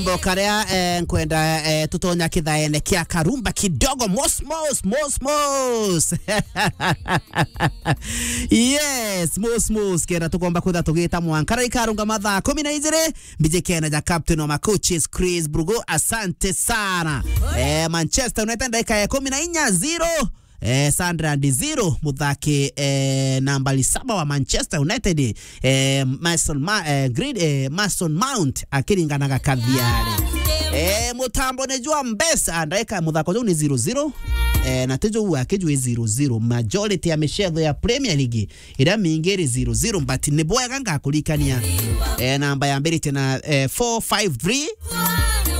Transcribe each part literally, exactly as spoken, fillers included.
Mbo karia, eh, nkwenda, eh, tutonya kithaene kia karumba kidogo, mos, mos, mos, mos. Yes, mos, mos. Kenda tukomba kwitha tugita mwanka. Riu ikarunga mathaa kumi na ijiri, mbiji kena ja captain wa macoaches, Chris Brugo. Asante sana. Eh, Manchester United ndagika ya kumi na inya, zero. Eh, Sunderland zero, muthaki, eh, nambari saba wa Manchester United, eh, Mason Ma-, eh, Green, eh, Mason Mount akiringanaga kathiari. Eh, mutambo ni jwa mbesa, ndaika muthako juu ni zero zero, eh, na ti juu akijui zero zero. Majority ya michetho ya Premier League iria mingi iri zero zero, but ni bwega ngakurikania, eh, namba yambirite na, eh, four five three,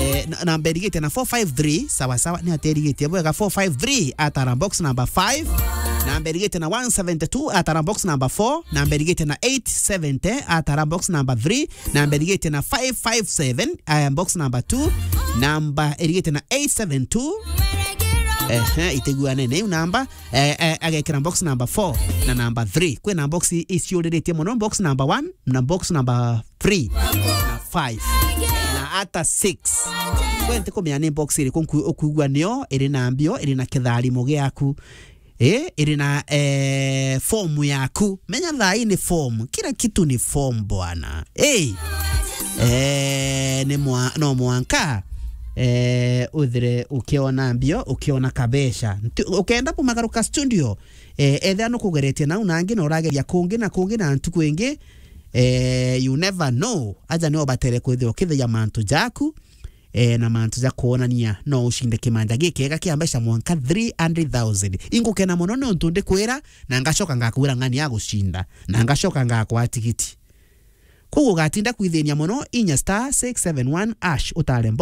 eh, na, namba irigite na four five three, sawa sawa, ni aterigite bwega, four five three, atara box number five, namba irigite na one seventy two, atara box number four, namba irigite na eight seventy, atara box number three, namba irigite na five five seven, aya box number two, namba irigite na eight seven two. Ehe, itiguane na iu namba, eh, eh, agekira box number four na number three. Kwina box i-, iciuriritie mono, box number one na box number three na five na ata six. Kwe ntikumenya ni box iriku nku-, ukuigua nio iri na mbio, iri na kitharimo giaku, eh, iri na, eh, form yaku. Menya thaa ii ni form, kila kitu ni form bwana. Hey. Eh, ni mwa-, no mwanka, eh, uthire ukiona mbio, ukiona kabeca. Nti-, ukenda kumagaruka studio, eh, ethira nukugeretie nau nangi na urageria kungi na kungi na ntuku ingi, eh, you never know. Aja ni obatere kwithirwa ukithiria mantu jaku, eh, na mantu ja kwonania no ucinde kimanja gikiega kia mbeca mwanka three hundred thousand. Ingukena mono nontu ndikwira, na ngacoka ngakwira ng'ani ya gucinda, na ngacoka ngakwa tigiti. Koguo ugatinda kwithinia mono, inya star six seven one hash utare